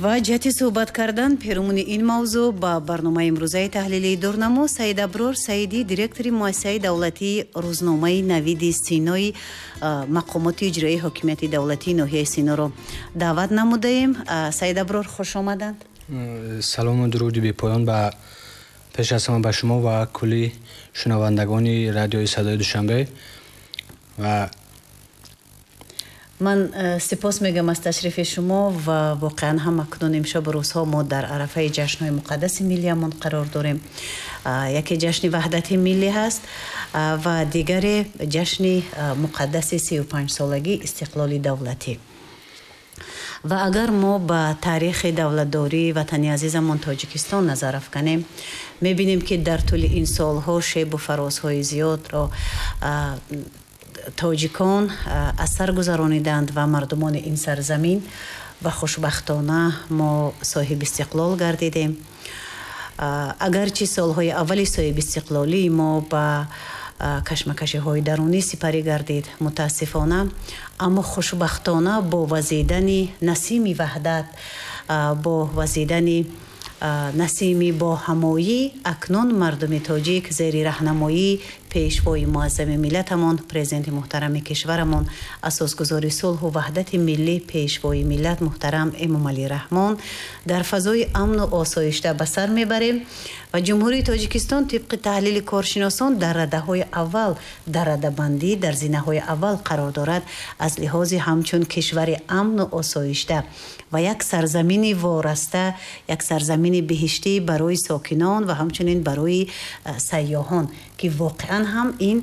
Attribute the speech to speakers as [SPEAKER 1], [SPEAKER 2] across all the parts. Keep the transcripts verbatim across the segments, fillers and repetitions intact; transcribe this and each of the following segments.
[SPEAKER 1] Ва ҷиҳати суҳбат кардан перомуни ин мавзӯъ ба барномаи имрӯзаи таҳлилии Дурнамо Саид Аброр Саидӣ, директори муассисаи давлатии рӯзномаи Навиди Синои мақомоти иҷроии ҳокимияти давлатии ноҳияи Синоро даъват намудаем. Саид Аброр, хуш омаданд.
[SPEAKER 2] Салому дуруди бепоён ба пеш аз ҳама ба шумо ва кулли шунавандагони радиои Садои Душанбе. Ва
[SPEAKER 1] ман сипос мегӯям аз ташрифи шумо ва воқеан ҳам акнун имшаб рӯзҳо мо дар арафаи ҷашнҳои муқаддаси миллиямон қарор дорем. Яке ҷашни ваҳдати миллӣ ҳаст ва дигаре ҷашни муқаддаси сию панҷсолагии истиқлоли давлатӣ. Ва агар мо ба таърихи давлатдории ватани азизамон Тоҷикистон назар афканем, мебинем, ки дар тӯли ин солҳо шебу фарозҳои зиёдро тоҷикон аз сар гузарониданд ва мардумони ин сарзамин, ва хушбахтона мо соҳиби истиқлол гардидем. Агарчи солҳои аввали соҳиби истиқлолии мо ба кашмакашиҳои дарунӣ сипарӣ гардид, мутаассифона, аммо хушбахтона бо вазидани насими ваҳдат, бо вазидани насими боҳамоӣ, акнун мардуми тоҷик зери раҳнамоии пешвои муаззами миллатамон, президенти муҳтарами кишварамон, асосгузори сулҳу ваҳдати миллӣ, пешвои миллат муҳтарам Эмомалӣ Раҳмон дар фазои амну осоишта ба сар мебарем. Ва Ҷумҳурии Тоҷикистон тибқи таҳлили коршиносон дар радаҳои аввал, дар радабандӣ дар зинаҳои аввал қарор дорад аз лиҳози ҳамчун кишвари амну осоишта ва як сарзамини вораста, як сарзамини биҳиштӣ барои сокинон ва ҳамчунин барои сайёҳон, ки воқеан ҳам ин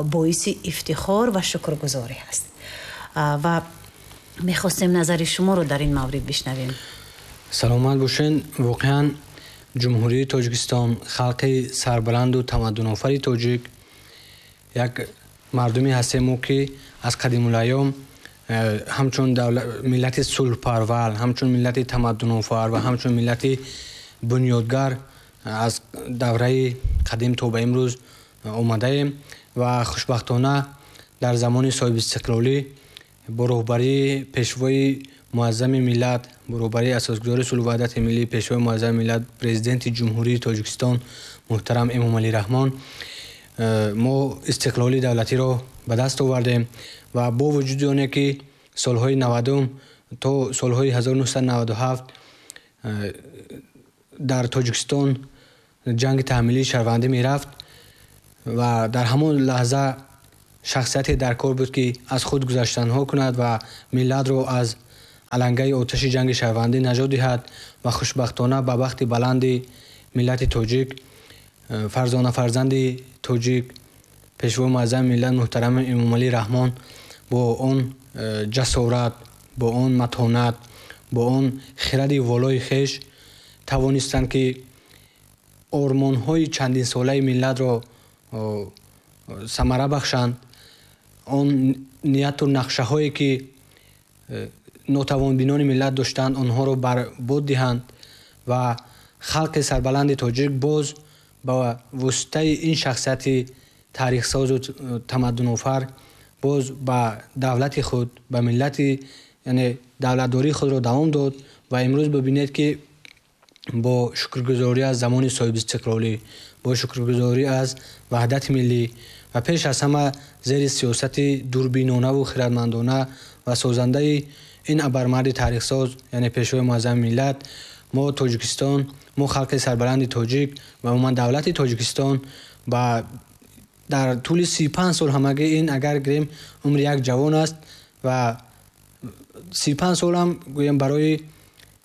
[SPEAKER 1] боиси ифтихор ва шукргузорӣ аст. Ва мехостем назари шуморо дар ин маврид бишнавем.
[SPEAKER 2] Саломат бошен. Воқеан, Ҷумҳурии Тоҷикистон, халқи сарбаланду тамаддунофари тоҷик, як мардуме ҳастем мо, ки аз қадимулайём э, ҳамчун миллати сулҳпарвар, ҳамчун миллати тамаддунофар ва ҳамчун миллати бунёдгар аз давраи қадим то ба имрӯз омадаем. Ва хушбахтона дар замони соҳибистиқлолӣ бо роҳбарии пешвои муаззами миллат, бо роҳбарии асосгузори сулҳу ваҳдати миллӣ, пешвои муаззами миллат, Президенти Ҷумҳурии Тоҷикистон муҳтарам Эмомалӣ Раҳмон э, мо истиқлоли давлатиро ба даст овардем. Ва бо вуҷуди оне ки солҳои навадум то солҳои ҳазору нӯҳсаду наваду ҳафт э, дар Тоҷикистон ҷанги таҳмилии шаҳрвандӣ мерафт ва дар ҳамон лаҳза шахсияте дар кор буд, ки аз худ гузаштанҳо кунад ва миллатро аз алангаи оташи ҷанги шаҳрвандӣ наҷот диҳад. Ва хушбахтона ба бахти баланди миллати тоҷик, э, фарзона фарзанди тоҷик, пешвои муаззами миллат муҳтарам Эмомалӣ Раҳмон бо он э, ҷасорат, бо он матонат, бо он хиради волои хеш тавонистанд, ки ормонҳои чандинсолаи миллатро самара бахшанд. Он нияту нақшаҳое ки э, нотавонбинони миллат доштанд, онҳоро бар бод диҳанд. Ва халқи сарбаланди тоҷик боз ба воситаи ин шахсияти таърихсозу тамаддунофар боз ба давлати худ, ба миллати, яъне давлатдории худро давом дод. Ва имрӯз бибинед, ки бо шукргузорӣ аз замони соҳибистиқлолӣ, бо шукргузорӣ аз ваҳдати миллӣ ва пеш аз ҳама зери сиёсати дурбинонаву хирадмандона ва созандаи ин абармарди таърихсоз, яъне пешвои муаззами миллат, мо Тоҷикистон, мо халқи сарбаланди тоҷик ва умуман давлати Тоҷикистон ба дар тӯли си панҷ сол, ҳамагӣ ин агар гирем, умри як ҷавон аст ва си панҷ солам гӯем барои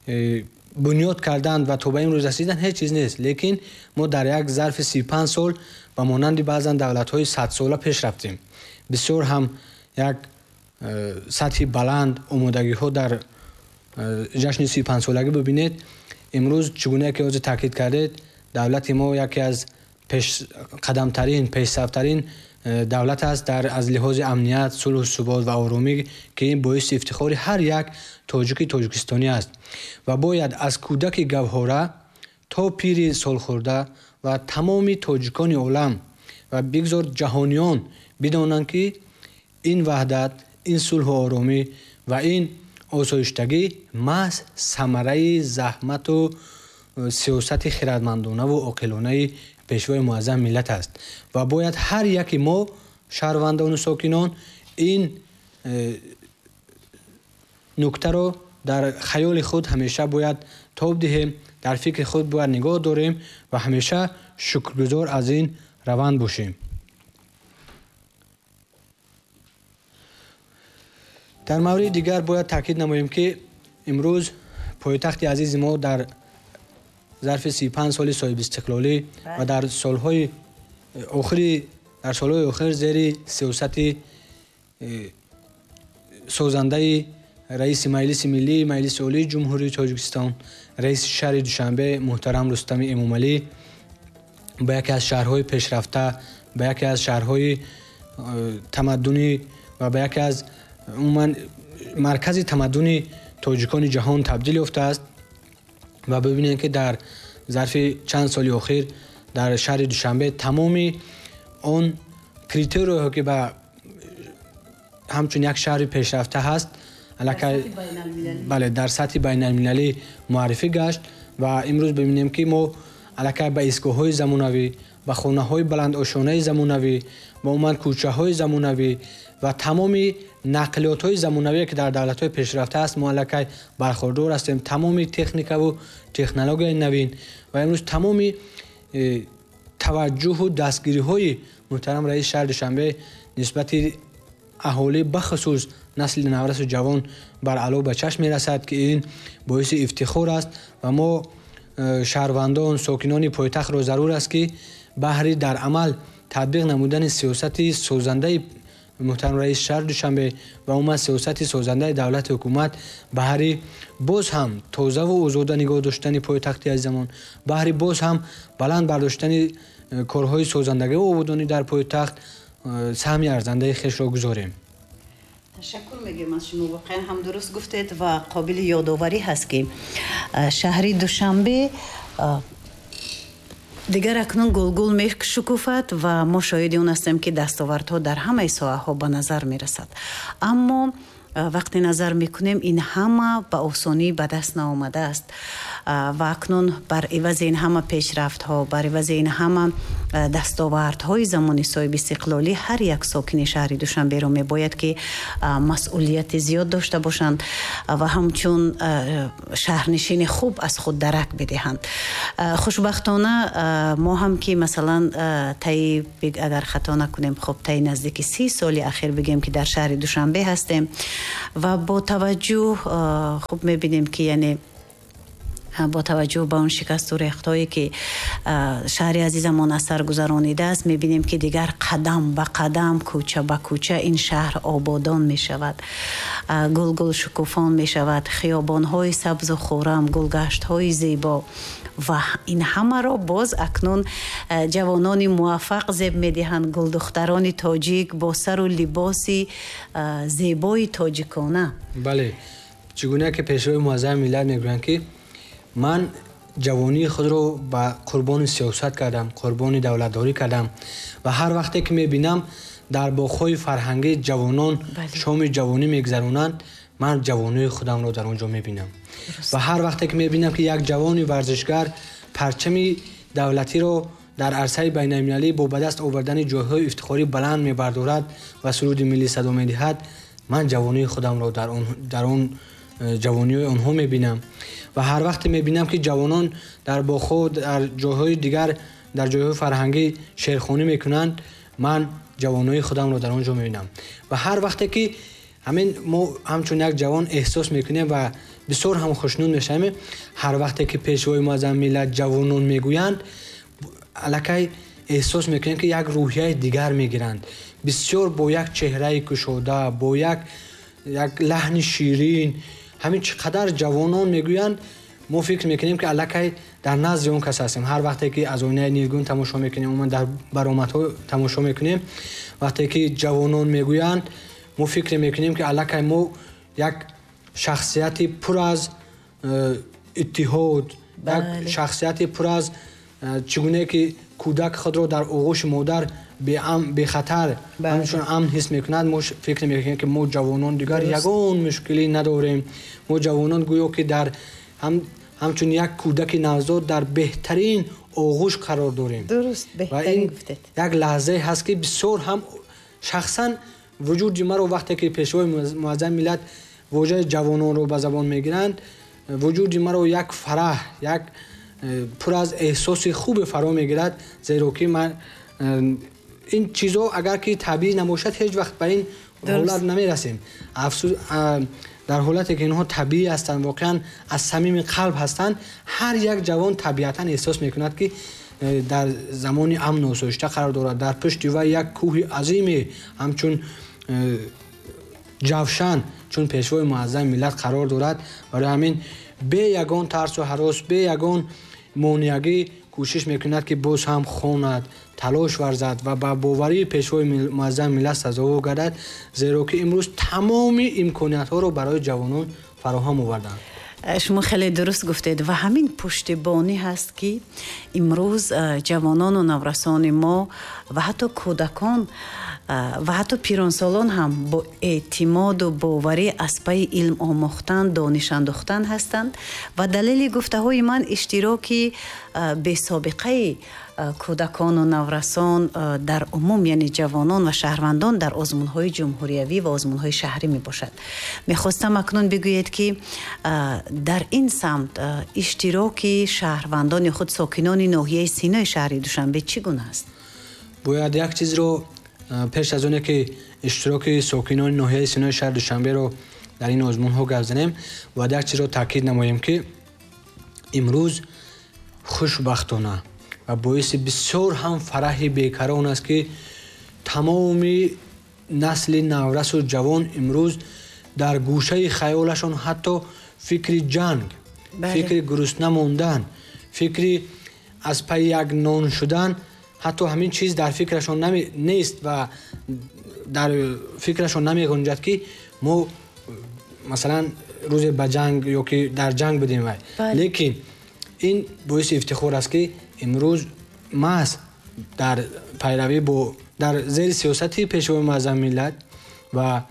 [SPEAKER 2] э, бунёд кардан ва то ба имрӯз расидан ҳеҷ чиз нест, лекин мо дар як зарфи си панҷ сол ба монанди баъзан давлатҳои садсола пеш рафтем. Бисёр ҳам як э, сатҳи баланд омодагиҳо дар э, ҷашни си панҷсолагӣ. Бибинед, имрӯз чӣ гуна ки ҳозир таъкид кардед, давлати мо яке аз пешқадамтарин, пешсафтарин э, давлат аст дар аз лиҳози амният, сулҳу субот ва оромӣ, ки ин боиси ифтихори ҳар як тоҷики тоҷикистонӣ аст. Ва бояд аз кӯдаки гавҳора то пири солхӯрда ва тамоми тоҷикони олам ва бигзор ҷаҳониён бидонанд, ки ин ваҳдат, ин сулҳу оромӣ ва ин осоиштагӣ маҳз самараи заҳмату сиёсати хирадмандонаву оқилонаи пешвои муаззами миллат аст ва бояд ҳар яки мо шаҳрвандону сокинон ин нуктаро дар хаёли худ ҳамеша бояд тоб диҳем, дар фикри худ бояд нигоҳ дорем ва ҳамеша шукргузор аз ин раванд бошем. Дар мавриди дигар бояд таъкид намоем, ки имрӯз пойтахти азизи мо дар зарфи си панҷ соли соҳибистиқлолӣ ва дар солҳои охири дар солҳои охир зери сиёсати созандаи раиси Маҷлиси Миллӣ, Маҷлиси Олии Ҷумҳурии Тоҷикистон, раиси шаҳри Душанбе муҳтарам Рустами Эмомалӣ ба яке аз шаҳрҳои пешрафта, ба яке аз шаҳрҳои тамаддунӣ ва ба яке аз умуман маркази тамаддуни тоҷикони ҷаҳон табдил ёфтааст ва бибинем, ки дар зарфи чанд соли охир дар шаҳри Душанбе тамоми он критерияҳо, ки ба ҳамчун як шаҳри пешрафта ҳаст, аллакай бале дар сатҳи байналмилалӣ муаррифӣ гашт ва имрӯз бибинем, ки мо аллакай ба истгоҳҳои замонавӣ, ба хонаҳои баландошонаи замонавӣ, ба умуман кӯчаҳои замонавӣ ва тамоми нақлиётҳои замонавие, ки дар давлатҳои пешрафта аст, мо аллакай бархӯрдор ҳастем. Тамоми техникаву технологияи навин ва имрӯз тамоми таваҷҷӯҳу дастгириҳои муҳтарам раиси шаҳри Душанбе нисбати аҳолӣ, бахусус насли наврасу ҷавон бар аъло ба чашм мерасад, ки ин боиси ифтихор аст ва мо шаҳрвандон, сокинони пойтахтро зарур аст, ки баҳри дар амал татбиқ намудани сиёсати созандаи муҳтарам раиси шаҳри Душанбе ва умуман сиёсати созандаи давлати ҳукумат баҳри боз ҳам тозаву озода нигоҳ доштани пойтахти азизамон, баҳри боз ҳам баланд бардоштани корҳои созандагиву ободонӣ дар пойтахт саҳми арзандаи хешро гузорем.
[SPEAKER 1] Ташаккур мегӯем аз шумо. Воқеан ҳам дуруст гуфтед ва қобили ёдоварӣ ҳаст, ки шаҳри Душанбе дигар акнун гулгул мешукуфад ва мо шоҳиди он ҳастем, ки дастовардҳо дар ҳамаи соҳаҳо ба назар мерасад. Аммо вақте назар мекунем, ин ҳама ба осонӣ ба даст наомадааст ва акнун бар ивази ин ҳама пешрафтҳо, бар ивази ин ҳама дастовардҳои замони соҳибистиқлолӣ ҳар як сокини шаҳри Душанберо мебояд, ки масъулияти зиёд дошта бошанд ва ҳамчун шаҳрнишини хуб аз худ дарак бидиҳанд. Хушбахтона мо ҳам ки масалан таи агар хато накунем, хуб таи наздики си соли ахир бигем, ки дар шаҳри Душанбе ҳастем ва бо таваҷҷӯҳ хуб мебинем, ки яъне бо таваҷҷӯҳ ба он шикасту рехтҳое, ки шаҳри азизамон аз сар гузаронидааст, мебинем, ки дигар қадам ба қадам, кӯча ба кӯча ин шаҳр ободон мешавад, гулгул шукуфон мешавад, хиёбонҳои сабзу хуррам, гулгаштҳои зебо ва ин ҳамаро боз акнун ҷавонони муваффақ зеб медиҳанд, гулдухтарони тоҷик бо сару либоси зебои тоҷикона.
[SPEAKER 2] Бале, чӣ гуна ки пешвои муаззами миллат мегӯянд, ки ман ҷавонии худро ба қурбони сиёсат кардам, қурбони давлатдорӣ кардам ва ҳар вақте ки мебинам дар боғҳои фарҳангӣ ҷавонон шоми ҷавонӣ мегузаронанд, ман ҷавонии худамро дар он ҷо мебинам. Ва ҳар вақте ки мебинам, ки як ҷавони варзишгар парчами давлатиро дар арсаи байналмилалӣ бо ба даст овардани ҷойҳои ифтихорӣ баланд мебардорад ва суруди миллӣ садо медиҳад, ман ҷавонии худамро дар он ҷавониҳои онҳо мебинам. Ва ҳар вақте мебинам, ки ҷавонон дар боғҳо, дар ҷойҳои дигар, дар ҷойҳои фарҳангӣ шеърхонӣ мекунанд, ман ҷавонои худамро дар он ҷо мебинам. Ва ҳар вақте ки ҳамин мо ҳамчун як ҷавон эҳсос мекунем ва бисёр ҳам хушнуд мешавем, ҳар вақте ки пешвои муаззами миллат ҷавонон мегӯянд, аллакай эҳсос мекунем, ки як рӯҳияи дигар мегиранд. Бисёр бо як чеҳраи кушода, бо як як лаҳни ширин, ҳамин чӣ қадар ҷавонон мегӯянд, мо фикр мекунем, ки аллакай дар назди он кас ҳастем. Ҳар вақте ки аз оинаи нилгун тамошо мекунем, умуман дар баромадҳо тамошо мекунем, вақте ки ҷавонон мегӯянд, мо фикр мекунем, ки аллакай мо як шахсияти пур аз иттиҳод, як шахсияти пур аз чӣ гуна ки кӯдак худро дар оғӯши модар бехатар, ҳамчун амн ҳис мекунад, мо фикр мекунем, ки мо ҷавонон дигар ягон мушкилӣ надорем. Мо ҷавонон гӯё ки дар ҳамчун як кӯдаки навзод дар беҳтарин оғӯш қарор дорем.
[SPEAKER 1] Дуруст, беҳтарин гуфтед.
[SPEAKER 2] Як лаҳзае ҳаст, ки бисёр ҳам шахсан вуҷуди маро вақте ки пешвои муаззами миллат вожаи ҷавононро ба забон мегиранд, вуҷуди маро як фараҳ, як пур аз эҳсоси хубе фаро мегирад, зеро ки ман ин чизо агар ки табиӣ набошад, ҳеҷ вақт ба ин ҳолат намерасем. Афсӯс, дар ҳолате ки инҳо табиӣ ҳастанд, воқеан аз самими қалб ҳастанд, ҳар як ҷавон табиатан эҳсос мекунад, ки дар замони амну осоишта қарор дорад. Дар пушти вай як кӯҳи азиме ҳамчун ҷавшан, чун пешвои муаззами миллат қарор дорад. Барои ҳамин бе ягон тарсу ҳарос, бе ягон монеагӣ кӯшиш мекунад, ки боз ҳам хонад, талош варзад ва ба боварии пешвои муаззами миллат сазовор гардад, зеро ки имрӯз тамоми имкониятҳоро барои ҷавонон фароҳам оварданд.
[SPEAKER 1] Шумо хеле дуруст гуфтед ва ҳамин пуштибонӣ ҳаст, ки имрӯз ҷавонону наврасони мо ва ҳатто кӯдакон ва ҳатто пиронсолон ҳам бо эътимоду боварӣ аз пайи илм омӯхтан, дониш андохтан ҳастанд. Ва далели гуфтаҳои ман иштироки бесобиқаи кӯдакону наврасон дар умум, яъне ҷавонон ва шаҳрвандон дар озмунҳои ҷумҳуриявӣ ва озмунҳои шаҳрӣ мебошад. Мехостам акнун бигӯед, ки дар ин самт иштироки шаҳрвандони худ, сокинони ноҳияи Синои шаҳри Душанбе чӣ гуна аст?
[SPEAKER 2] Бояд як чизро пеш аз оне ки иштироки сокинони ноҳияи Синои шаҳри Душанберо дар ин озмунҳо гап занем, бояд як чизро таъкид намоем, ки имрӯз хушбахтона ва боиси бисёр ҳам фараҳи бекарон аст, ки тамоми насли наврасу ҷавон имрӯз дар гӯшаи хаёлашон ҳатто фикри ҷанг, фикри гурусна мондан, фикри аз пайи як нон шудан, ҳатто ҳамин чиз дар фикрашон нест ва дар фикрашон намегунҷад, ки мо масалан рӯзе ба ҷанг ё ки дар ҷанг будем. Вай лекин ин боиси ифтихор аст, ки имрӯз маҳз дар пайравӣ бо дар зери сиёсати пешвои муаззами миллат ва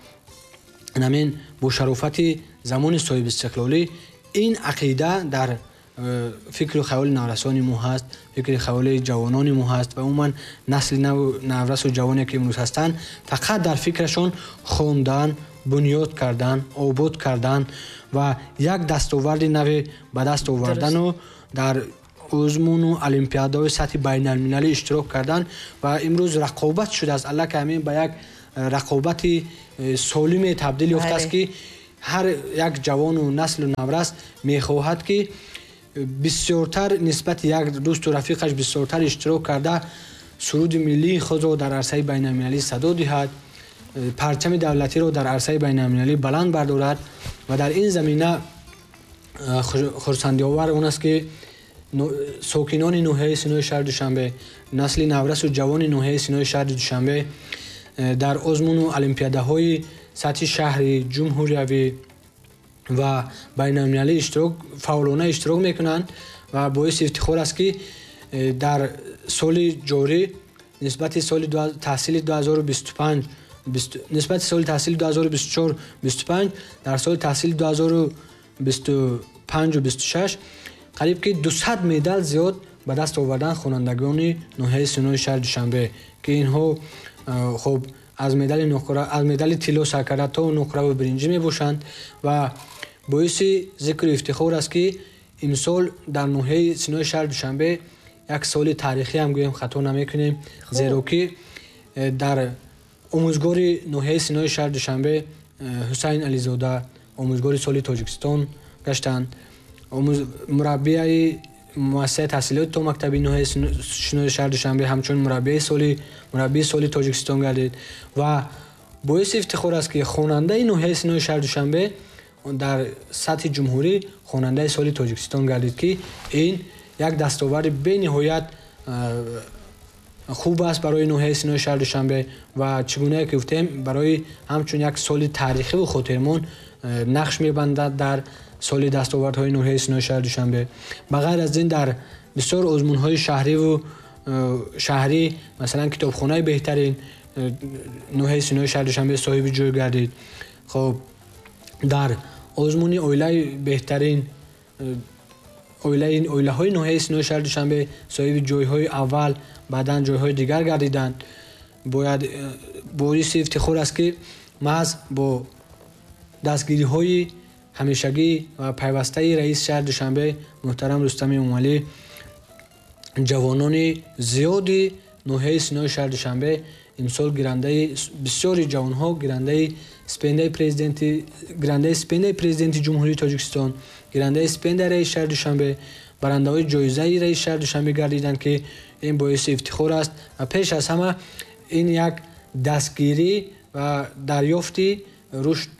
[SPEAKER 2] ҳамин бо шарофати замони соҳибистиқлолӣ ин ақида дар фикру хаёли наврасони мо ҳаст, фикри хаёли ҷавонони мо ҳаст ва умуман насли наврасу ҷавоне ки имрӯз ҳастанд, фақат дар фикрашон хондан, бунёд кардан, обод кардан ва як дастоварди наве ба даст овардану дар озмуну олимпиадаҳои сатҳи байналмилалӣ иштирок кардан. Ва имрӯз рақобат шудааст, аллакай ҳамин ба як рақобати солиме табдил ёфтааст, ки ҳар як ҷавону наслу наврас мехоҳад, ки бисёртар нисбати як дӯсту рафиқаш бисёртар иштирок карда, суруди миллии худро дар арсаи байналмилалӣ садо диҳад, парчами давлатиро дар арсаи байналмилалӣ баланд бардорад. Ва дар ин замина хурсандиовар он аст, ки сокинони ноҳияи Синои шаҳри Душанбе, насли наврасу ҷавони ноҳияи Синои шаҳри Душанбе дар озмуну олимпиадаҳои сатҳи шаҳрӣ, ҷумҳуриявӣ ва байналмилалӣ иштирок фаъолона иштирок мекунанд. Ва боиси ифтихор аст, ки дар соли ҷорӣ нисбати соли таҳсили ду ҳазору бисту панҷ нисбати соли таҳсили ду ҳазору бисту чор бисту панҷ дар соли таҳсили ду ҳазору бисту панҷу бисту шаш қариб ки дусад медал зиёд ба даст овардан хонандагони ноҳияи Синои шаҳри Душанбе, ки инҳо хуб аз медали нуқра, аз медали тилло сар карда то нуқраву биринҷӣ мебошанд. Ва боиси зикру ифтихор аст, ки имсол дар ноҳияи Синои шаҳри Душанбе як соли таърихӣ ҳам гӯем хато намекунем, зеро ки дар омӯзгори ноҳияи Синои шаҳри Душанбе Ҳусайн Ализода омӯзгори соли Тоҷикистон гаштанд. Мураббияи муассисаи таҳсилоти томактабии ноҳияи Синои шаҳри Душанбе ҳамчун мураббияи соли мураббии соли Тоҷикистон гардид. Ва боиси ифтихор аст, ки хонандаи ноҳияи Синои шаҳри Душанбе дар сатҳи ҷумҳурӣ хонандаи соли Тоҷикистон гардид, ки ин як дастоварди бениҳоят хуб аст барои ноҳияи Синои шаҳри Душанбе ва чӣ гунае ки гуфтем, барои ҳамчун як соли таърихиву хотирмон нақш мебандад дар соли дастовардҳои ноҳияи Синои шаҳри Душанбе. Ба ғайр аз ин дар бисёр озмунҳои шаҳриву шаҳрӣ, масалан китобхонаи беҳтарин ноҳияи Синои шаҳри Душанбе соҳиби ҷой гардид. Хоб, дар озмуни оилаи беҳтарин оилаҳои ноҳияи Синои шаҳри Душанбе соҳиби ҷойҳои аввал, баъдан ҷойҳои дигар гардиданд. Бояд боиси ифтихор аст, ки маҳз бо дастгириҳои ҳамешагӣ ва пайвастаи раиси шаҳри Душанбе муҳтарам Рустами Эмомалӣ ҷавонони зиёди ноҳияи Синои шаҳри Душанбе имсол гирандаи бисёри ҷавонҳо гирандаи стипендияи президенти гирандаи стипендияи президенти Ҷумҳурии Тоҷикистон, гирандаи стипендияи раиси шаҳри Душанбе, барандаҳои ҷоизаи раиси шаҳри Душанбе гардиданд, ки ин боиси ифтихор аст ва пеш аз ҳама ин як дастгирӣ ва дарёфти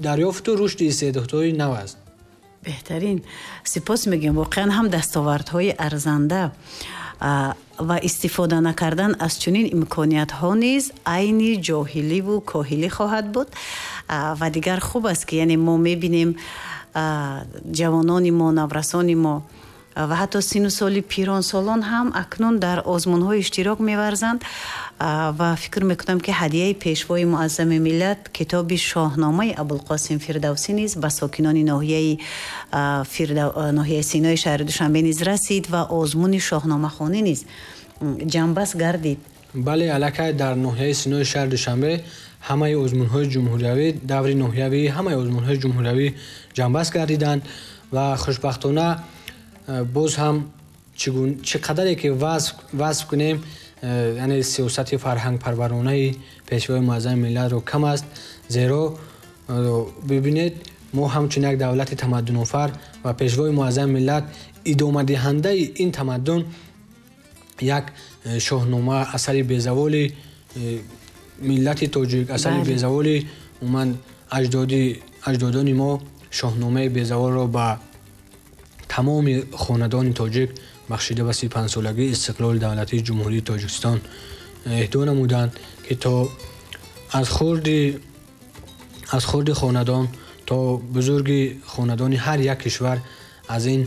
[SPEAKER 2] дарёфту рушди истеъдодҳои нав аст.
[SPEAKER 1] Беҳтарин. Сипос мегӯем. Воқеан ҳам дастовардҳои арзанда ва истифода накардан аз чунин имкониятҳо низ айни ҷоҳиливу коҳилӣ хоҳад буд. Ва дигар хуб аст, ки яъне мо мебинем ҷавонони мо, наврасони мо ва ҳатто сину соли пиронсолон ҳам акнун дар озмунҳо иштирок меварзанд ва фикр мекунам, ки ҳадияи пешвои муаззами миллат китоби Шоҳномаи Абулқосим Фирдавсӣ низ ба сокинони ноҳияи ноҳияи Синои шаҳри Душанбе низ расид ва озмуни шоҳномахонӣ низ ҷамъбаст гардид.
[SPEAKER 2] Бале, аллакай дар ноҳияи Синои шаҳри Душанбе ҳамаи озмунҳои ҷумҳуриявӣ, даври ноҳиявӣ, ҳамаи озмунҳои ҷумҳуриявӣ ҷамъбаст гардиданд ва хушбахтона боз ҳам чӣ қадаре ки васф кунем, яъне сиёсати фарҳангпарваронаи пешвои муаззами миллатро кам аст, зеро бибинед, мо ҳамчун як давлати тамаддунофар ва пешвои муаззами миллат идомадиҳандаи ин тамаддун як шоҳнома, асари безаволи миллати тоҷик, асари безаволи умуман аҷдодони мо шоҳномаи безаволро ба тамоми хонадони тоҷик бахшида ба си панҷсолагии истиқлоли давлатии Ҷумҳурии Тоҷикистон эҳдо намуданд, ки то аз хурди аз хурди хонадон то бузурги хонадони ҳар як кишвар аз ин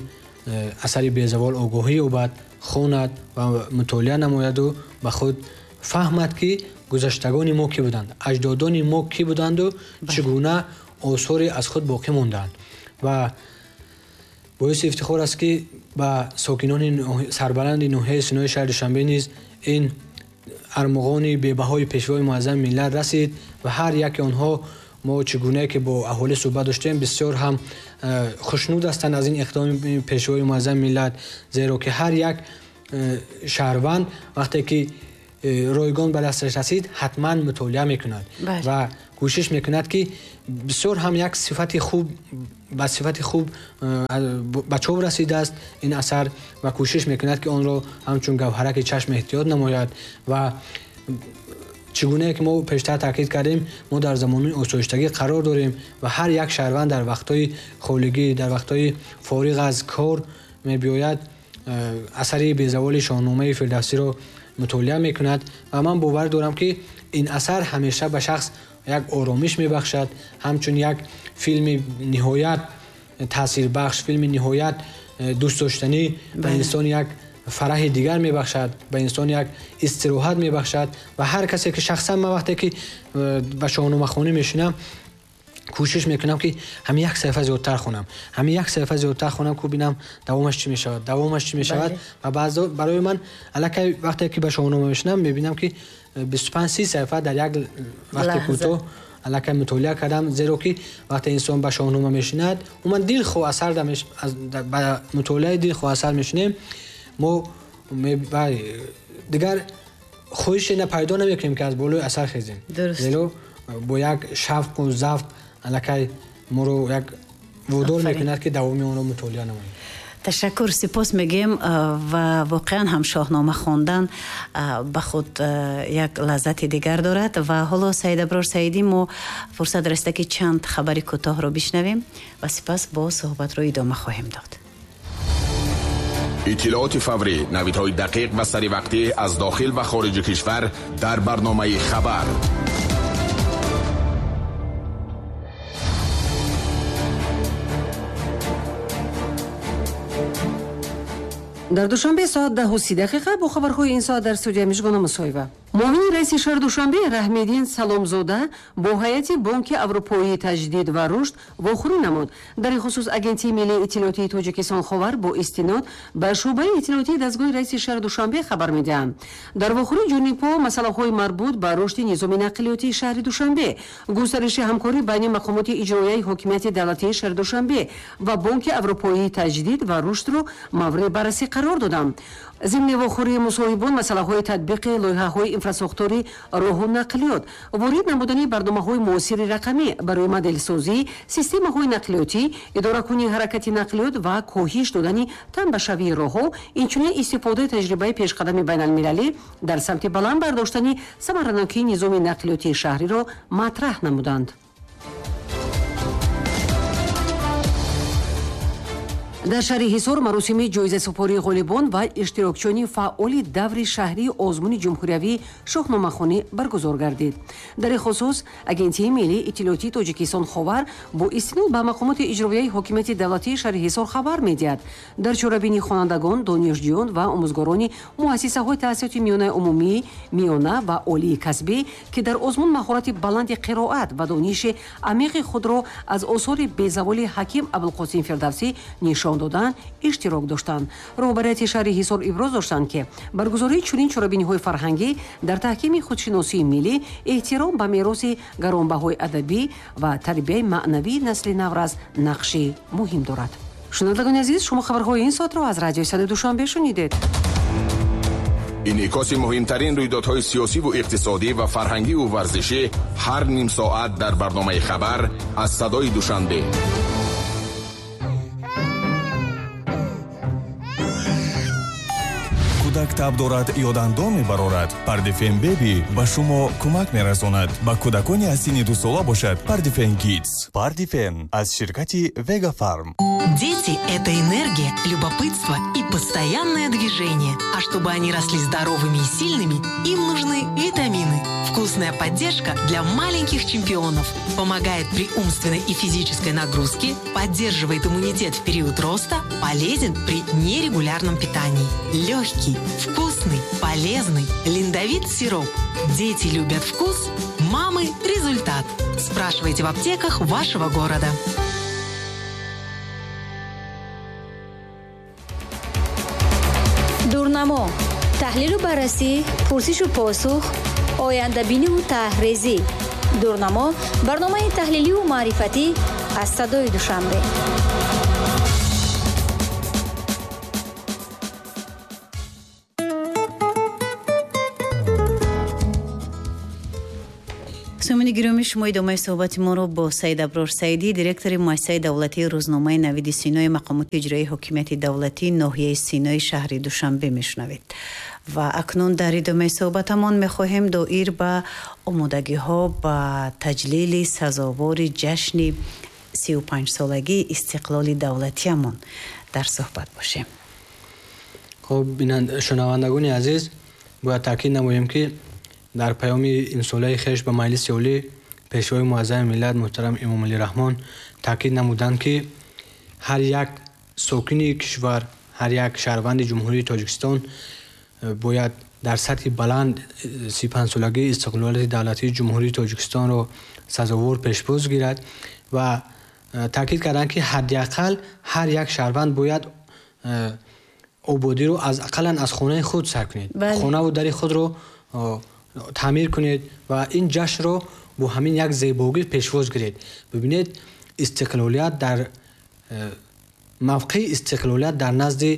[SPEAKER 2] асари безавол огоҳӣ ёбад, хонад ва мутолиа намояду ба худ фаҳмад, ки гузаштагони мо кӣ буданд, аҷдодони мо кӣ буданду чӣ гуна осоре аз худ боқӣ монданд. Ва боиси ифтихор аст, ки ба сокинони сарбаланди ноҳияи Синои шаҳри Душанбе низ ин армуғони бебаҳои пешвои муаззами миллат расид ва ҳар яке онҳо мо чӣ гунае ки бо аҳолӣ суҳбат доштем, бисёр ҳам хушнуд ҳастанд аз ин иқдоми пешвои муаззами миллат, зеро ки ҳар як шаҳрванд вақте ки ройгон ба дасташ расид, ҳатман мутолиа мекунад ва кӯшиш мекунад, ки бисёр ҳам як сифати хуб ба сифати хуб ба чоп расидааст ин асар ва кӯшиш мекунад, ки онро ҳамчун гавҳараки чашм эҳтиёт намояд. Ва чӣ гунае ки мо пештар таъкид кардем, мо дар замони осоиштагӣ қарор дорем ва ҳар як шаҳрванд дар вақтҳои холигӣ, дар вақтҳои фориғ аз кор мебиёяд, асари безаволи Шоҳномаи Фирдавсиро мутолиа мекунад ва ман бовар дорам, ки ин асар ҳамеша ба шахс як оромиш мебахшад, ҳамчун як филми ниҳоят таъсирбахш, филми ниҳоят дӯстдоштанӣ ба инсон як фараҳи дигар мебахшад, ба инсон як истироҳат мебахшад. Ва ҳар касе ки шахсан ман вақте ки ба шоҳномахонӣ мешинам, кӯшиш мекунам, ки ҳамин як саҳифа зиёдтар хонам, ҳамин як саҳифа зиёдтар хонам, ку бинам давомаш чӣ мешавад, давомаш чӣ мешавад. Ва баъзо барои ман аллакай вақте ки ба шоҳнома мешинам, мебинам, ки бисту панҷ си саҳифа дар як вақти кӯтоҳ аллакай мутолиа кардам, зеро ки вақте инсон ба шоҳнома мешинад, умуман дилхоҳ асар ба мутолиаи дилхоҳ асар мешинем, мо дигар хоҳише пайдо намекунем, ки аз болои асар хезем, зеро бо як шавқу завқ аллакай моро як водор мекунад, ки давоми онро мутолиа намоем.
[SPEAKER 1] Ташаккур, сипос мегӯем ва воқеан ҳам шоҳнома хондан ба худ як лаззати дигар дорад. Ва ҳоло Саид Аброр Саидӣ, мо фурсат расида, ки чанд хабари кӯтоҳро бишнавем ва сипас бо суҳбатро идома хоҳем дод.
[SPEAKER 3] Иттилооти фаврӣ, навидҳои дақиқ ва саривақтӣ аз дохил ва хориҷи кишвар дар барномаи хабар.
[SPEAKER 4] Дар Душанбе соат даҳу си дақиқа бо хабарҳои ин соат дар студия Мижгона Мусоева. Муовини раиси шаҳри Душанбе Раҳмиддин Саломзода бо ҳайати Бонки Аврупоии таҷдид ва рушд вохӯрӣ намуд. Дар ин хусус Агентии миллии иттилоотии Тоҷикистон Ховар бо истинод ба шӯъбаи иттилоотии дастгоҳи раиси шаҳри Душанбе хабар медиҳанд. Дар вохӯрӣ ҷонибҳо масъалаҳои марбут ба рушди низоми нақлиётии шаҳри Душанбе, густариши ҳамкорӣ байни мақомоти иҷроияи ҳокимияти давлатии шаҳри Душанбе ва Бонки Аврупоии таҷдид ва рушдро мавриди баррасӣ қарор доданд. Зимни вохӯрии мусоҳибон масъалаҳои татбиқи лоиҳаҳои инфрасохтори роҳу нақлиёт, ворид намудани барномаҳои муосири рақамӣ барои моделсозӣ, системаҳои нақлиётӣ, идоракунии ҳаракати нақлиёт ва коҳиш додани танбашавии роҳҳо, инчунин истифодаи таҷрибаи пешқадами байналмилалӣ дар самти баланд бардоштани самаранокии низоми нақлиётии шаҳриро матраҳ намуданд. Дар шаҳри Ҳисор маросими ҷоизасупории ғолибон ва иштирокчиёни фаъоли даври шаҳрии озмуни ҷумҳуриявии шоҳномахонӣ баргузор гардид. Дар ин хусус Агентии миллии иттилоотии Тоҷикистон Ховар бо истинод ба мақомоти иҷроияи ҳокимияти давлатии шаҳри Ҳисор хабар медиҳад. Дар чорабинии хонандагон, донишҷӯён ва омӯзгорони муассисаҳои таҳсилоти миёнаи умумӣ, миёна ва олии касбӣ, ки дар озмун маҳорати баланди қироат ва дониши амиқи худро аз осори безаволи Ҳаким Абулқосим Фирдавсӣ нишон додан, иштирок доштанд. Роҳбарияти шаҳри Ҳисор иброз доштанд, ки баргузории чунин чорабиниҳои фарҳангӣ дар таҳкими худшиносии миллӣ, эҳтиром ба мероси гаронбаҳои адабӣ ва тарбияи маънавии насли наврас нақши муҳим дорад. Шунавандагони азиз, шумо хабарҳои ин соатро аз радиои Садои Душанбе шунидед.
[SPEAKER 3] Инъикоси муҳимтарин рӯйдодҳои сиёсиву иқтисодӣ ва фарҳангиву варзишӣ ҳар ним соат дар барномаи хабар аз Садои Душанбе.
[SPEAKER 5] Кӯдак таб дорад ё дандон мебарорад, Пардифен Беби ба шумо кӯмак мерасонад. Ба кӯдакони аз синни дусола бошад Пардифен Кидс. Пардифен аз ширкати Вега Фарм.
[SPEAKER 6] Дети – это энергия, любопытство и постоянное движение. А чтобы они росли здоровыми и сильными, им нужны витамины. Вкусная поддержка для маленьких чемпионов. Помогает при умственной и физической нагрузке, поддерживает иммунитет в период роста, полезен при нерегулярном питании. Легкий, вкусный, полезный Линдовит сироп. Дети любят вкус, мамы – результат. Спрашивайте в аптеках вашего города.
[SPEAKER 7] Дурнамо, таҳлилу баррасӣ, пурсишу посух, ояндабиниву таҳрезӣ. Дурнамо барномаи таҳлиливу маърифатӣ аз Садои Душанбе.
[SPEAKER 1] Сомини гиромӣ, шумо идомаи суҳбати моро бо Саид Аброр Саидӣ, директори муассисаи давлатии рӯзномаи Навиди Синои мақомоти иҷроии ҳокимияти давлатии ноҳияи Синои шаҳри Душанбе мешунавед. Ва акнун дар идомаи суҳбатамон мехоҳем доир ба омодагиҳо ба таҷлили сазовори ҷашни сию панҷсолагии истиқлоли давлатиамон дар суҳбат бошем.
[SPEAKER 2] Хуб, шунавандагони азиз, бояд таъкид намоем, ки дар паёми имсолаи хеш ба Маҷлиси Олӣ Пешвои муаззами миллат муҳтарам Эмомалӣ Раҳмон таъкид намуданд, ки ҳар як сокини кишвар, ҳар як шаҳрванди Ҷумҳурии Тоҷикистон бояд дар сатҳи баланд си панҷсолагии истиқлолияти давлатии Ҷумҳурии Тоҷикистонро сазовор пешвоз гирад ва таъкид карданд, ки ҳадди ақал ҳар як шаҳрванд бояд ободиро аз ақаллан аз хонаи худ сар кунед, хонаву дари худро таъмир кунед ва ин ҷашнро бо ҳамин як зебогӣ пешвоз гиред. Бибинед, истиқлолият дар мавқеи истиқлолият дар назди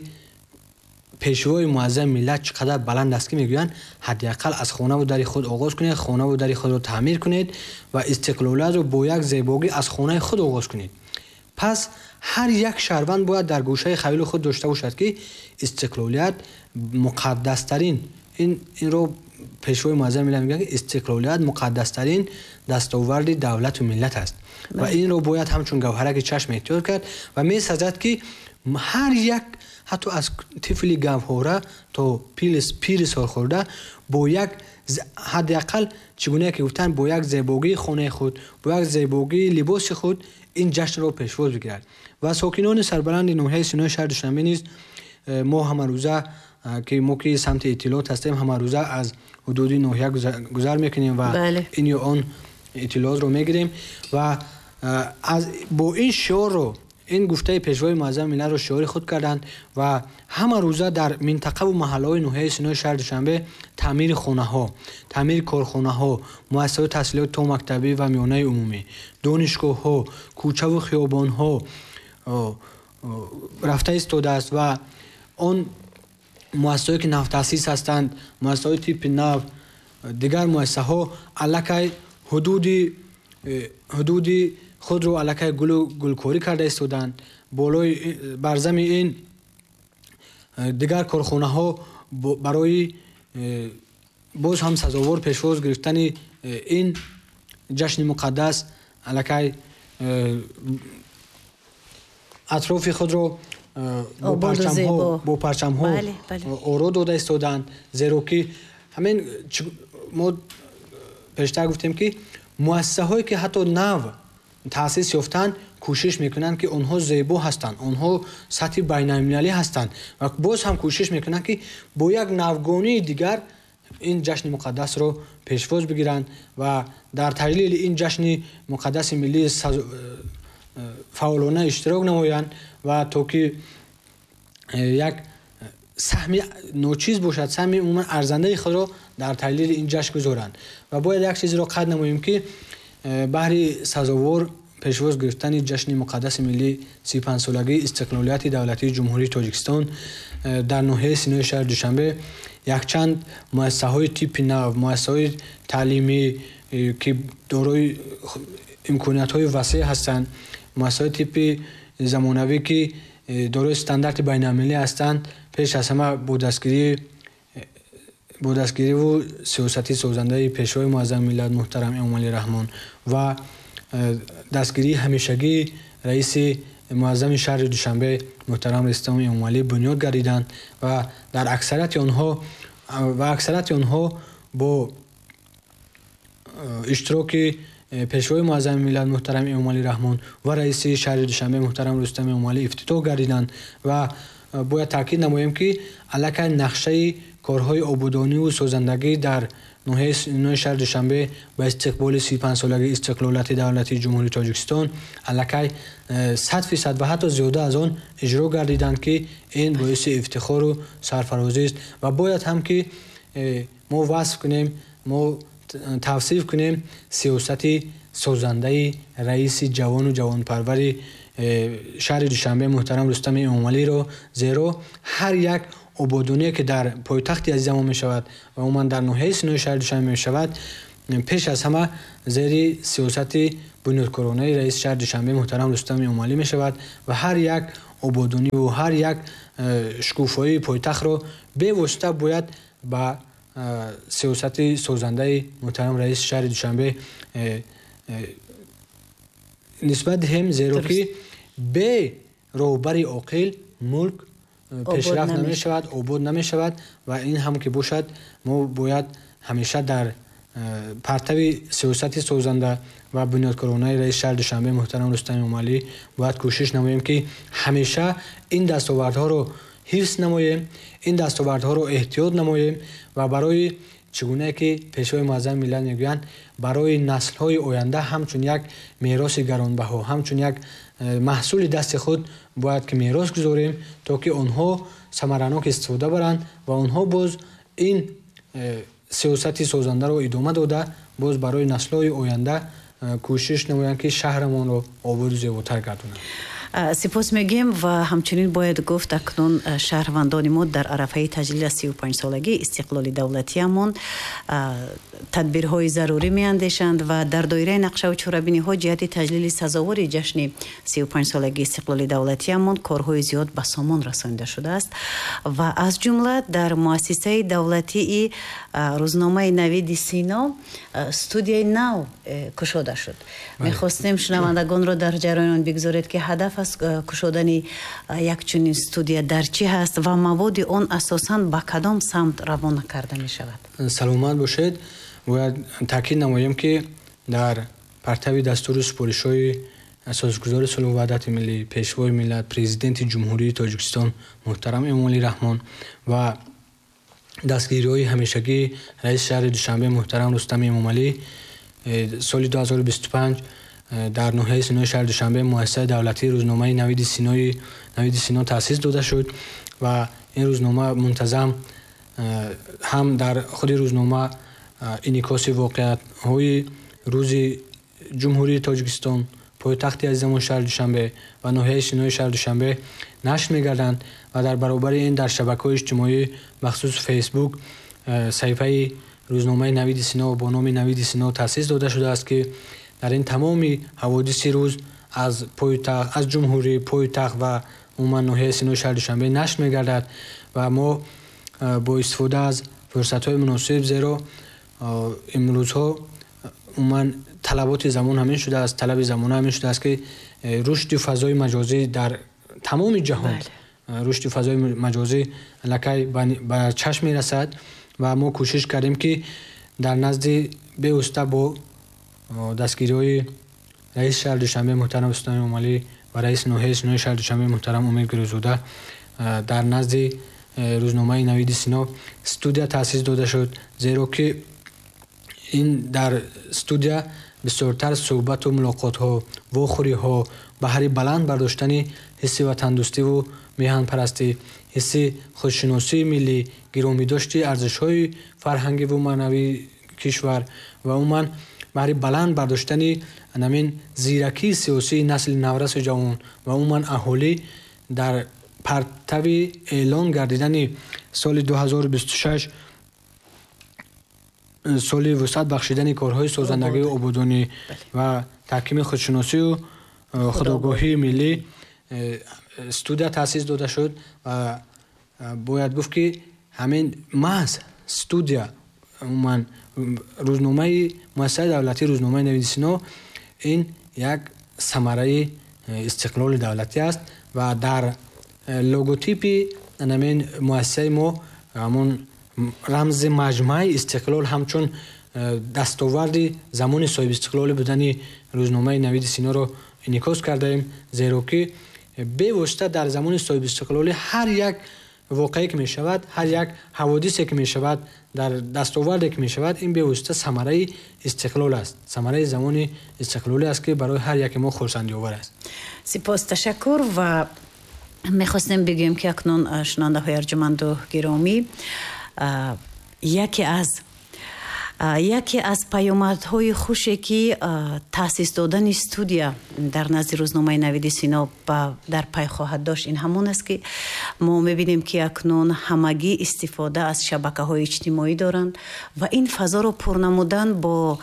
[SPEAKER 2] пешвои муаззами миллат чӣ қадар баланд аст, ки мегӯянд ҳадди ақал аз хонаву дари худ оғоз кунед, хонаву дари худро таъмир кунед ва истиқлолиятро бо як зебогӣ аз хонаи худ оғоз кунед. Пас ҳар як шаҳрванд бояд дар гӯшаи хаёли худ дошта бошад, ки истиқлолият муқаддастарин, ин инро пешвои муаззами миллат мегӯянд, ки истиқлолият муқаддастарин дастоварди давлату миллат аст ва инро бояд ҳамчун гавҳараки чашм эҳтиёт кард ва месазад, ки ҳар як ҳатто аз тифли гавҳора то пири солхӯрда бо як ҳадди ақал чӣ гуна ки гуфтанд, бо як зебогии хонаи худ, бо як зебогии либоси худ ин ҷашнро пешвоз бигирад. Ва сокинони сарбаланди ноҳияи Синои шаҳри Душанбе низ мо ҳамарӯза ки мо ки самти иттилоот ҳастем, ҳамарӯза аз ҳудуди ноҳия гузар мекунем ва ин ё он иттилоотро мегирем ва аз бо ин шиорро, ин гуфтаи пешвои муаззами миллатро шиори худ карданд ва ҳамарӯза дар минтақаву маҳаллаҳои ноҳияи Синои шаҳри Душанбе таъмири хонаҳо, таъмири корхонаҳо, муассисаҳои таҳсилоти томактабӣ ва миёнаи умумӣ, донишгоҳҳо, кӯчаву хиёбонҳо рафта истодааст ва он муассисаҳое ки навтаъсис ҳастанд, муассисаҳои типи нав, дигар муассисаҳо аллакай ҳудуди ҳудуди худро аллакай гулу гулкорӣ карда истоданд. Болои барзами ин дигар корхонаҳо барои боз ҳам сазовор пешвоз гирифтани ин ҷашни муқаддас аллакай атрофи худро бо парчамҳо бо парчамҳо оро дода истоданд. Зеро ки ҳамин мо пештар гуфтем ки муассисаҳое ки ҳатто нав таъсис ёфтанд, кӯшиш мекунанд ки онҳо зебо ҳастанд, онҳо сатҳи байналмилалӣ ҳастанд ва боз ҳам кӯшиш мекунанд ки бо як навгонии дигар ин ҷашни муқаддасро пешвоз бигиранд ва дар таҷлили ин ҷашни муқаддаси миллӣ фаъолона иштирок намоянд ва то ки як саҳми ночиз бошад, саҳми умуман арзандаи худро дар таҷлили ин ҷашн гузоранд. Ва бояд як чизро қайд намоем ки баҳри сазовор пешвоз гирифтани ҷашни муқаддаси миллӣ си панҷсолагии истиқлолияти давлатии Ҷумҳурии Тоҷикистон дар ноҳияи Синои шаҳри Душанбе якчанд муассисаҳои типи нав, муассисаҳои таълимӣ ки дорои имкониятҳои васеъ ҳастанд, муассисаҳои типи замонавӣ ки дорои стандарти байналмилалӣ ҳастанд, пеш аз ҳама бо дастгирии бо дастгириву сиёсати созандаи пешвои муаззами миллат муҳтарам Эмомалӣ Раҳмон ва дастгирии ҳамешагии раиси муаззами шаҳри Душанбе муҳтарам Рустам Эмомалӣ бунёд гардиданд ва дар аксарияти онҳо ва аксарияти онҳо бо иштироки пешвои муаззами миллат муҳтарам Эмомалӣ Раҳмон ва раиси шаҳри Душанбе муҳтарам Рустам Эмомалӣ ифтитоҳ гардиданд. Ва бояд таъкид намоем ки аллакай нақшаи корҳои ободониву созандагӣ дар ноҳияи шаҳри Душанбе ба истиқболи си панҷсолагии истиқлолияти давлатии Ҷумҳурии Тоҷикистон аллакай сад фисад ва ҳатто зиёда аз он иҷро гардиданд ки ин боиси ифтихору сарфарозист ва бояд ҳам ки мо васф кунем, мо тавсиф кунем сиёсати созандаи раиси ҷавону ҷавонпарвари шаҳри Душанбе муҳтарам Рустам Эмомалиро, зеро ҳар як ободоние ки дар пойтахти азизамон мешавад ва умуман дар ноҳияи Синои шаҳри Душанбе мешавад, пеш аз ҳама зери сиёсати бунёдкоронаи раиси шаҳри Душанбе муҳтарам Рустам Эмомалӣ мешавад ва ҳар як ободониву ҳар як шукуфоии пойтахтро бевосита бояд ба сиёсати созандаи муҳтарам раиси шаҳри Душанбе нисбат диҳем, зеро ки бе роҳбари оқил мулк пешрафт намешавад, обод намешавад ва ин ҳам ки бошад мо бояд ҳамеша дар партави сиёсати созанда ва бунёдкоронаи раиси шаҳри Душанбе муҳтарам Рустам Эмомалӣ бояд кӯшиш намоем ки ҳамеша ин дастовардҳоро ҳифз намоем, ин дастовардҳоро эҳтиёт намоем ва барои чӣ гунае ки пешвои муаззами миллат мегӯянд, барои наслҳои оянда ҳамчун як мероси гаронбаҳо, ҳамчун як маҳсули дасти худ бояд ки мерос гузорем, то ки онҳо самаранок истифода баранд ва онҳо боз ин сиёсати созандаро идома дода боз барои наслҳои оянда кӯшиш намоянд ки шаҳрамонро ободу зеботар гардонанд.
[SPEAKER 1] Сипос мегӯем ва ҳамчунин бояд гуфт, акнун шаҳрвандони мо дар арафаи таҷлил аз сию панҷсолагии истиқлоли давлатиамон тадбирҳои зарурӣ меандешанд ва дар доираи нақшаву чорабиниҳо ҷиҳати таҷлили сазовори ҷашни сию панҷсолагии истиқлоли давлатиамон корҳои зиёд ба сомон расонида шудааст ва аз ҷумла дар муассисаи давлатии рӯзномаи Навиди Сино студияи нав кушода шуд. Мехостем шунавандагонро дар ҷараён бигзоред ки ҳадаф аз кушодани як чунин студия дар чӣ ҳаст ва маводи он асосан ба кадом самт равона карда мешавад.
[SPEAKER 2] Саломат бошед. Бояд таъкид намоем ки дар партави дастуру супоришҳои асосгузори сулҳу ваҳдати миллӣ, Пешвои миллат, Президенти Ҷумҳурии Тоҷикистон муҳтарам Эмомалӣ Раҳмон ва дастгириҳои ҳамешагии раиси шаҳри Душанбе муҳтарам Рустами Эмомалӣ соли ду ҳазору бисту панҷ дар ноҳияи Синои шаҳри Душанбе муассисаи давлатии рӯзномаи Навиди Синои Навиди Сино таъсис дода шуд ва ин рӯзнома мунтазам ҳам дар худи рӯзнома инъикоси воқеаҳои рӯзи Ҷумҳурии Тоҷикистон, пойтахти азизамон шаҳри Душанбе ва ноҳияи Синои шаҳри Душанбе нашр мегарданд ва дар баробари ин дар шабакаҳои иҷтимоӣ, махсус Фейсбук, саҳифаи рӯзномаи Навиди Сино бо номи Навиди Сино таъсис дода шудааст, ки дар ин тамоми ҳаводиси рӯз аз пойтахт, аз ҷумҳурӣ, пойтахт ва умуман ноҳияи Синои шаҳри Душанбе нашр мегардад ва мо бо истифода аз фурсатҳои муносиб, зеро имрӯзҳо умуман талаботи замон ҳамин шудааст, талаби замона ҳамин шудааст, ки рушди фазои маҷозӣ дар тамоми ҷаҳон, рушди фазои маҷозӣ аллакай ба чашм мерасад ва мо кӯшиш кардем, ки дар назди бевосита бо дастгириҳои раиси шаҳри Душанбе муҳтарам Рустами Эмомалӣ ва раиси ноҳияи Синои шаҳри Душанбе муҳтарам Умед Гирӯзода дар назди рӯзномаи Навиди Сино студия таъсис дода шуд, зеро ки ин дар студия бисёртар суҳбату мулоқотҳо, вохӯриҳо баҳри баланд бардоштани ҳисси ватандӯстиву меҳанпарастӣ, ҳисси худшиносии миллӣ, гиромидошти арзишҳои фарҳангиву маънавии кишвар ва умуман баҳри баланд бардоштани ҳамин зиракии сиёсии насли наврасу ҷавон ва умуман аҳолӣ дар партави эълон гардидани соли ду ҳазору бисту шаш соли вусъат бахшидани корҳои созандагию ободонӣ ва таҳкими худшиносию худогоҳии миллӣ студия таъсис дода шуд ва бояд гуфт, ки ҳамин маҳз студия, умуман рӯзномаи муассисаи давлатии рӯзномаи Навиди Сино ин як самараи истиқлоли давлатӣ аст ва дар логотипи ҳамин муассисаи мо ҳамон рамзи маҷмӯаи истиқлол ҳамчун дастоварди замони соҳибистиқлолӣ будани рӯзномаи Навиди Синоро инъикос кардаем, зеро ки бевосита дар замони соҳибистиқлолӣ ҳар як воқеае ки мешавад, ҳар як ҳаводисе ки мешавад, дар дастоварде ки мешавад, ин бевосита самараи истиқлол аст, самараи замони истиқлолӣ аст, ки барои ҳар яке мо хурсандиовар аст.
[SPEAKER 1] Сипос, ташаккур. Ва мехостем бигӯем, ки акнун шунавандаҳои арҷуманду гиромӣ, яке аз яке аз паёмадҳои хуше, ки таъсис додани студия дар назди рӯзномаи Навиди Сино дар пай хоҳад дошт, ин ҳамон аст, ки мо мебинем, ки акнун ҳамагӣ истифода аз шабакаҳои иҷтимоӣ доранд ва ин фазоро пур намудан бо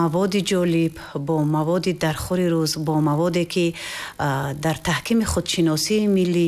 [SPEAKER 1] маводи ҷолиб, бо маводи дархӯри рӯз, бо маводе, ки дар таҳкими худшиносии миллӣ